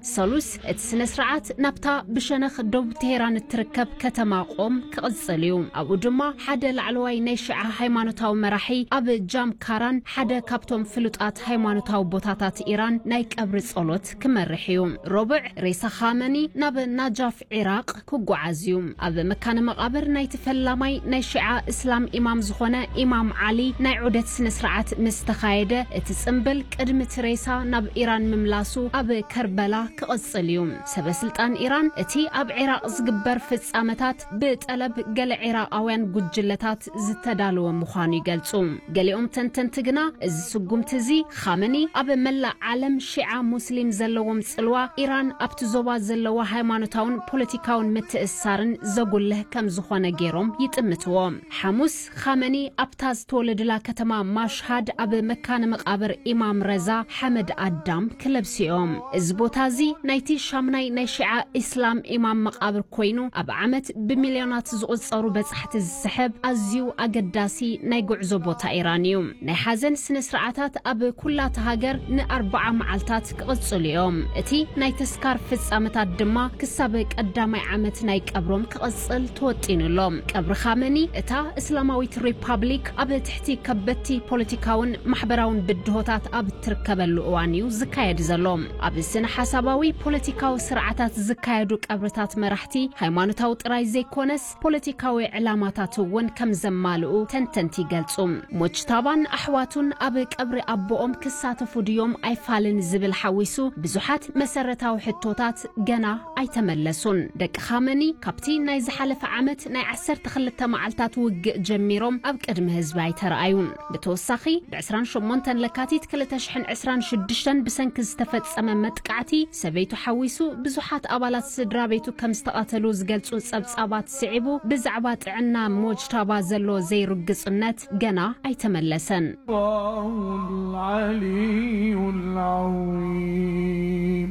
ሰሉስ እቲ ስነ ስርዓት ናብታ ብሸነኽ ደቡብ ቴሄራን እትርከብ ከተማ ቆም ክቕጽል እዩ። ኣብኡ ድማ ሓደ ላዕለዋይ ናይ ሺዓ ሃይማኖታዊ መራሒ ኣብ ጃም ካራን ሓደ ካብቶም ፍሉጣት ሃይማኖታዊ ቦታታት ኢራን ናይ ቀብሪ ጸሎት ክመርሕ እዩ። ሮብዕ ሬሳ ኻመኒ ናብ ናጃፍ ዒራቕ ክጓዓዝ እዩ። ኣብ መካነ መቓብር ናይቲ ፈላማይ ናይ ሺዓ እስላም ኢማም ዝኾነ ኢማም ዓሊ ናይ ዑደት ስነ ስርዓት ምስ ተኻየደ፣ እቲ ጽምብል ቅድሚ እቲ ሬሳ ናብ ኢራን ምምላሱ ኣብ ከርበላ ክቕጽል እዩ። ሰበ ስልጣን ኢራን እቲ ኣብ ዒራቕ ዝግበር ፍጻመታት ብጠለብ ገለ ዒራቓውያን ጉጅለታት ዝተዳለወ ምዃኑ ይገልጹ። ገሊኦም ተንተንቲ ግና እዚ ስጉምቲ እዚ ኻመኒ ኣብ መላእ ዓለም ሺዓ ሙስሊም ዘለዎም ጽልዋ ኢራን ኣብቲ ዞባ ዘለዋ ሃይማኖታውን ፖለቲካውን ምትእስሳርን ዘጉልህ ከም ዝኾነ ገይሮም ይጥምትዎ። ሓሙስ ኻመኒ ኣብታ ዝተወለደላ ከተማ ማሽሃድ ኣብ መካነ መቓብር ኢማም ረዛ ሓመድ ኣዳም ክለብሱ እዮም። እዚ ቦታ እዚ ናይቲ ሻምናይ ናይ ሺዓ ኢስላም ኢማም መቓብር ኮይኑ፣ ኣብ ዓመት ብሚልዮናት ዝቑጸሩ በጻሕቲ ዝስሕብ ኣዝዩ ኣገዳሲ ናይ ጉዕዞ ቦታ ኢራን እዩ። ናይ ሓዘን ስነ ስርዓታት ኣብ ኩላታ ሃገር ንኣርብዓ መዓልታት ክቕጽሉ እዮም። እቲ ናይ ተስካር ፍጻመታት ድማ ክሳብ ቀዳማይ ዓመት ናይ ቀብሮም ክቕጽል ተወጢኑ ኣሎ። ቀብሪ ኻመኒ እታ እስላማዊት ሪፓብሊክ ኣብ ትሕቲ ከበድቲ ፖለቲካውን ማሕበራውን ብድሆታት ኣብ እትርከበሉ እዋን እዩ ዝካየድ ዘሎ። ኣብ ስነ ሓሳባዊ ፖለቲካዊ ስርዓታት ዝካየዱ ቀብርታት መራሕቲ ሃይማኖታዊ ጥራይ ዘይኮነስ ፖለቲካዊ ዕላማታት እውን ከም ዘማልኡ ተንተንቲ ይገልጹ። ሞጅታባን ኣሕዋቱን ኣብ ቀብሪ ኣቦኦም ክሳተፉ ድዮም ኣይፋልን ዝብል ሓዊሱ ብዙሓት መሰረታዊ ሕቶታት ገና ኣይተመለሱን። ደቂ ኻመኒ ካብቲ ናይ ዝሓለፈ ዓመት ናይ ዓሰርተ ክልተ መዓልታት ውግእ ጀሚሮም ኣብ ቅድሚ ህዝቢ ኣይተረኣዩን። ብተወሳኺ ብ ዕስራን ሸሞንተን ለካቲት ክልተ ሽሕን ዕስራን ሽዱሽተን ብሰንኪ ዝተፈጸመ መጥቃዕቲ ሰበይቱ ሓዊሱ ብዙሓት ኣባላት ስድራ ቤቱ ከም ዝተቐተሉ ዝገልጹ ጸብጻባት ስዒቡ ብዛዕባ ጥዕና ሞጅታባ ዘሎ ዘይርግጽነት ገና ኣይተመለሰን። الله العلي العظيم.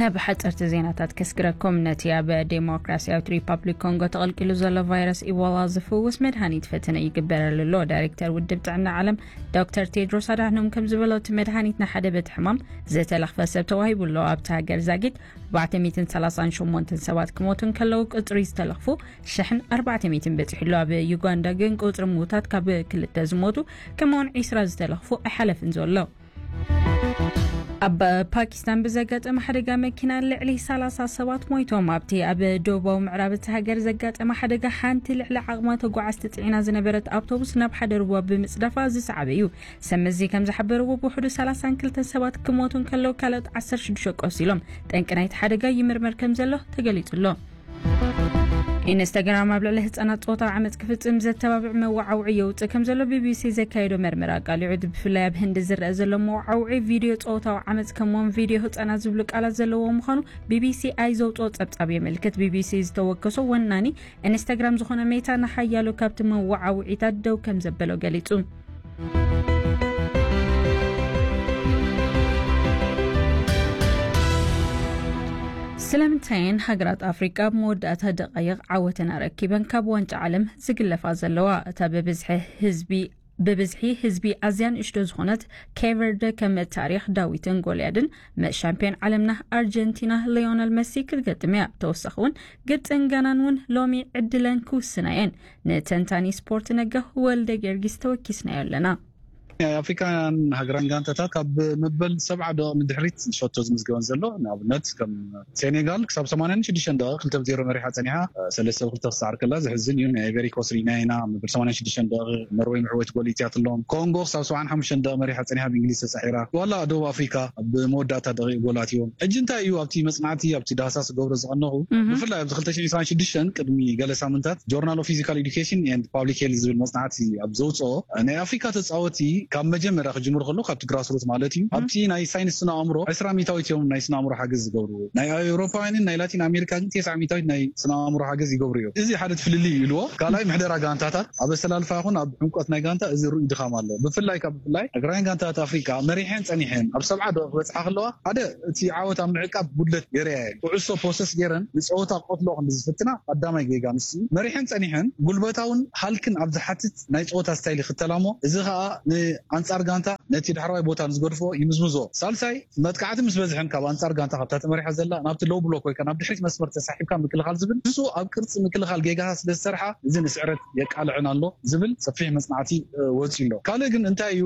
ናብ ሓፀርቲ ዜናታት ከስግረኩም። ነቲ ኣብ ዴሞክራሲያዊት ሪፓብሊክ ኮንጎ ተቐልቂሉ ዘሎ ቫይረስ ኢቦላ ዝፍውስ መድሃኒት ፈተነ ይግበረሉ ኣሎ። ዳይሬክተር ውድብ ጥዕና ዓለም ዶክተር ቴድሮስ ኣድሓኖም ከም ዝበሎ፣ እቲ መድሃኒት ንሓደ በቲ ሕማም ዝተለኽፈ ሰብ ተዋሂቡ ኣሎ። ኣብቲ ሃገር ዛጊድ ኣርባዕተ ሚእትን ሰላሳን ሸሞንተን ሰባት ክሞቱ እንከለዉ፣ ቁፅሪ ዝተለኽፉ ሽሕን ኣርባዕተ ሚእትን በፂሑ ኣሎ። ኣብ ዩጋንዳ ግን ቁፅሪ ምዉታት ካብ ክልተ ዝሞቱ፣ ከምኡውን ዒስራ ዝተለኽፉ ኣይሓለፍን ዘሎ። ኣብ ፓኪስታን ብዘጋጠመ ሓደጋ መኪና ልዕሊ ሰላሳ ሰባት ሞይቶም። ኣብቲ ኣብ ደቡባዊ ምዕራብ እቲ ሃገር ዘጋጠመ ሓደጋ፣ ሓንቲ ልዕሊ ዓቕማ ተጓዓዝቲ ጽዒና ዝነበረት ኣውቶቡስ ናብ ሓደ ሩባ ብምጽዳፋ ዝሰዓበ እዩ። ሰመዚ ከም ዝሓበርዎ፣ ብውሕዱ ሰላሳን ክልተን ሰባት ክሞቱ እንከለዉ፣ ካልኦት ዓሰርተ ሽዱሽተ ቆሲሎም። ጠንቂ ናይቲ ሓደጋ ይምርመር ከም ዘሎ ተገሊጹ ኣሎ። ኢንስታግራም ኣብ ልዕሊ ህጻናት ጾታዊ ዓመጽ ክፍጽም ዘተባብዕ መወዓውዒ የውጽእ ከም ዘሎ ቢቢሲ ዘካየዶ መርመራ ኣቃሊዑ። ብፍላይ ኣብ ህንዲ ዝረአ ዘሎ መወዓውዒ፣ ቪድዮ ጾታዊ ዓመጽ ከምኡውን ቪድዮ ህጻናት ዝብሉ ቃላት ዘለዎ ምዃኑ ቢቢሲ ኣይ ዘውጽኦ ጸብጻብ የመልክት። ቢቢሲ ዝተወከሶ ወናኒ ኢንስታግራም ዝኾነ ሜታ፣ ንሓያሎ ካብቲ መወዓውዒታት ደው ከም ዘበሎ ገሊጹ። ስለምንታየን ሃገራት ኣፍሪቃ ኣብ መወዳእታ ደቃይቕ ዓወተን ኣረኪበን ካብ ዋንጫ ዓለም ዝግለፋ ዘለዋ? እታ ብብዝሒ ህዝቢ ብብዝሒ ህዝቢ ኣዝያ ንእሽቶ ዝኾነት ኬቨርደ፣ ከም ታሪኽ ዳዊትን ጎልያድን ምስ ሻምፒዮን ዓለምና ኣርጀንቲና ሊዮነል መሲ ክትገጥም እያ። ተወሳኺ እውን ግብፅን ጋናን እውን ሎሚ ዕድለን ክውስና እየን። ንተንታኒ ስፖርት ነጋ ወልደ ጊዮርጊስ ተወኪስናዮ ኣለና። ናይ ኣፍሪካን ሃገራን ጋንታታት ካብ መበል ሰብዓ ደቂቕ ንድሕሪት ሸቶ ዝምዝገበን ዘሎ። ንኣብነት ከም ሴኔጋል ክሳብ ሰማንያን ሽዱሽተን ደቂቕ ክልተ ብ ዜሮ መሪሓ ጸኒሓ፣ ሰለስተ ብ ክልተ ክስዓር ከላ ዘሕዝን እዩ። ናይ ኣይቨሪ ኮስት ርኢናዮ ኢና፣ መበል ሰማንያን ሽዱሽተን ደቂቕ ኖርወይ ምዕወይቲ ጎል ኢትያትሎም። ኮንጎ ክሳብ ሰብዓን ሓሙሽተን ደቂቕ መሪሓ ጸኒሓ ብእንግሊዝ ተሳዒራ። ዋላ ደቡብ ኣፍሪካ ኣብ መወዳእታ ደቂቕ ጎል ኣትዮም። ሕጂ እንታይ እዩ ኣብቲ መጽናዕቲ፣ ኣብቲ ዳህሳስ ዝገብሮ ዝቐነኹ፣ እህ። ብፍላይ ኣብዚ ክልተ ሽሕን ዕስራን ሽዱሽተን ቅድሚ ገለ ሳምንታት ጆርናል ኦፍ ፊዚካል ኤዱኬሽን ኤንድ ፓብሊክ ሄልዝ ዝብል መጽናዕቲ ኣብ ዘውጽኦ፣ ናይ ኣፍሪካ ተጻወቲ ካብ መጀመርያ ክጅምሩ ከለዉ፣ ካብቲ ግራስሩት ማለት እዩ፣ እም። ኣብቲ ናይ ሳይንስ ስነ ኣእምሮ ዕስራ ሚእታዊት እዮም ናይ ስነ ኣእምሮ ሓገዝ ዝገብሩ። ናይ ኣውሮፓውያንን ናይ ላቲን ኣሜሪካ ግን ተስዓ ሚእታዊት ናይ ስነ ኣእምሮ ሓገዝ ይገብሩ እዮም። እዚ ሓደ ፍልልይ ይብልዎ። ካልኣይ ምሕደራ ጋንታታት ኣብ ኣሰላልፋ ይኹን ኣብ ዕምቆት ናይ ጋንታ እዚ ርኡይ ድኻም ኣሎ። ብፍላይ ካብ ብፍላይ ሃገራውያን ጋንታታት ኣፍሪካ መሪሐን ጸኒሐን ኣብ ሰብዓ ደቂቕ ክበጽሓ ከለዋ፣ ሓደ እቲ ዓወት ኣብ ምዕቃብ ጉድለት ገይረያ እየን። ኩዕሶ ፖሰስ ገይረን ንጸወታ ክቐትልኦ ክንዲ ዝፍትና ቀዳማይ ጌጋ ንሱ እዩ። መሪሐን ጸኒሐን ጉልበታውን ሃልክን ኣብ ዝሓትት ናይ ጸወታ ስታይል ይኽተላ እሞ፣ እዚ ኸኣ ን- ኣንጻር ጋንታ ነቲ ዳሕረዋይ ቦታ ንዝገድፎ ይምዝምዞ። ሳልሳይ መጥቃዕቲ ምስ በዝሐን ካብ ኣንጻር ጋንታ ካብታ ተመሪሓ ዘላ ናብቲ ሎው ብሎክ ወይ ናብ ድሕሪት መስመር ተሳሒብካ ምክልኻል ዝብል ንሱ ኣብ ቅርጺ ምክልኻል ጌጋታት ስለ ዝሰርሓ እዚ ንስዕረት የቃልዐን ኣሎ ዝብል ሰፊሕ መጽናዕቲ ወፂ ኣሎ። ካልእ ግን እንታይ እዩ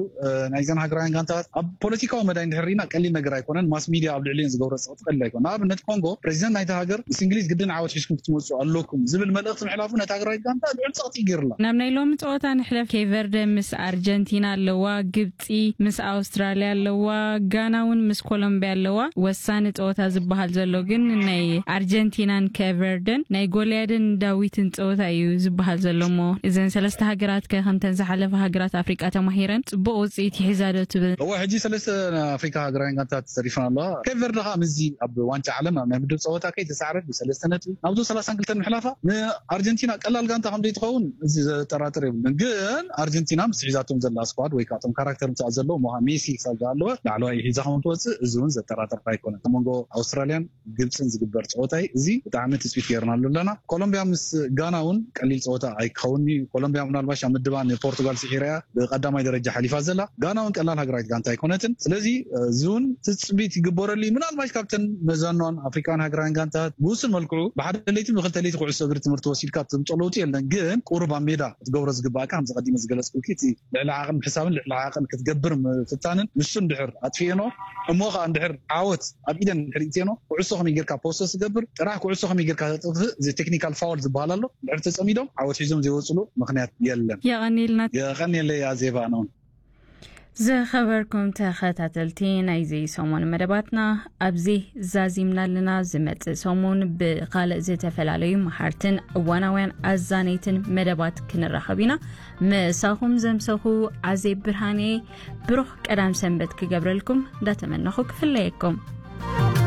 ናይዘን ሃገራውያን ጋንታታት ኣብ ፖለቲካዊ መዳይ እንድሕር ርኢና ቀሊል ነገር ኣይኮነን። ማስ ሚድያ ኣብ ልዕሊን ዝገብሮ ፀቕጢ ቀሊል ኣይኮነ። ንኣብነት ኮንጎ ፕሬዚደንት ናይቲ ሃገር ምስ እንግሊዝ ግድን ዓወት ሒዝኩም ክትመፁ ኣለኩም ዝብል መልእኽቲ ምሕላፉ ነቲ ሃገራዊት ጋንታ ልዑል ፀቕጢ ገይርላ። ናብ ናይ ሎሚ ፀወታ ንሕለፍ። ኬቨርደ ምስ ኣርጀንቲና ኣለዋ፣ ግብፂ ምስ ኣውስትራሊያ ኣለዋ፣ ጋና እውን ምስ ኮሎምቢያ ኣለዋ። ወሳኒ ፀወታ ዝበሃል ዘሎ ግን ናይ ኣርጀንቲናን ኬቨርደን ናይ ጎልያድን ዳዊትን ፀወታ እዩ ዝበሃል ዘሎ። እሞ እዘን ሰለስተ ሃገራት ከ ከምተን ዝሓለፈ ሃገራት ኣፍሪቃ ተማሂረን ፅቡቅ ውፅኢት ይሒዛ ዶ ትብል? እወ፣ ሕጂ ሰለስተ ኣፍሪካ ሃገራውያን ጋንታት ተሪፈን ኣለዋ። ኬቨርደ ከዓ ምስዚ ኣብ ዋንጫ ዓለም ኣብ ናይ ምድብ ፀወታ ከይተሳዕረት ብሰለስተ ነጥቢ ናብዞ ሰላሳን ክልተን ምሕላፋ ንኣርጀንቲና ቀላል ጋንታ ከም ዘይትኸውን እዚ ዘጠራጥር የብሉን። ግን ኣርጀንቲና ምስ ሒዛቶም ዘላ ስኳድ ወይ ከዓ እቶም ካራክተር ምሳኣ ዘለዉ ሜሲ ክሳብ ዝሃለወ ላዕለዋይ ሒዛ ከም ትወፅእ እዚ እውን ዘጠራጥር ኣይኮነን። ኣብ መንጎ ኣውስትራልያን ግብፅን ዝግበር ፀወታይ እዚ ብጣዕሚ ትፅቢት ገይርናሉ ኣለና። ኮሎምቢያ ምስ ጋና እውን ቀሊል ፀወታ ኣይክኸውን እዩ። ኮሎምቢያ ምናልባሽ ኣብ ምድባ ንፖርቱጋል ስዒራ እያ ብቀዳማይ ደረጃ ሓሊፋ ዘላ። ጋና እውን ቀላል ሃገራዊት ጋንታ ኣይኮነትን። ስለዚ እዚ እውን ትፅቢት ይግበረሉ እዩ። ምናልባሽ ካብተን መዛንዋን ኣፍሪካውያን ሃገራውያን ጋንታታት ብውሱን መልክዑ ብሓደ ለይቲ ብክልተ ለይቲ ኩዕሶ እግሪ ትምህርቲ ወሲድካ ትምፆ ለውጢ የለን። ግን ቁሩብ ኣብ ሜዳ ክትገብሮ ዝግባእካ ከምዚ ቀዲመ ዝገለፅኩልኪ እቲ ልዕሊ ዓቕን ምሕሳብን ልዕሊ ዓቕን ክትገብር ምፍታንን ንሱ እንድሕር ኣጥፊኤኖ እሞ ከዓ እንድሕር ዓወት ኣብ ኢደን እንድሕር ኢትየኖ ኩዕሶ ከመይ ጌርካ ፖሰስ ዝገብር ጥራሕ ኩዕሶ ከመይ ጌርካ ተጥፍእ እዚ ቴክኒካል ፋውል ዝበሃል ኣሎ እንድሕር ተፀሚዶም ዓወት ሒዞም ዘይወፅሉ ምክንያት የለን። የቐንየልና። የቐንየለይ ኣዜባ ነውን። ዝኸበርኩም ተኸታተልቲ ናይዚ ሰሙን መደባትና ኣብዚ ዛዚምና ኣለና። ዝመጽእ ሰሙን ብኻልእ ዝተፈላለዩ መሃርትን እዋናውያን ኣዛነይትን መደባት ክንራኸብ ኢና። ምሳኹም ዘምሰኹ ኣዜብ ብርሃኔ። ብሩኽ ቀዳም ሰንበት ክገብረልኩም እንዳተመነኹ ክፍለየኩም።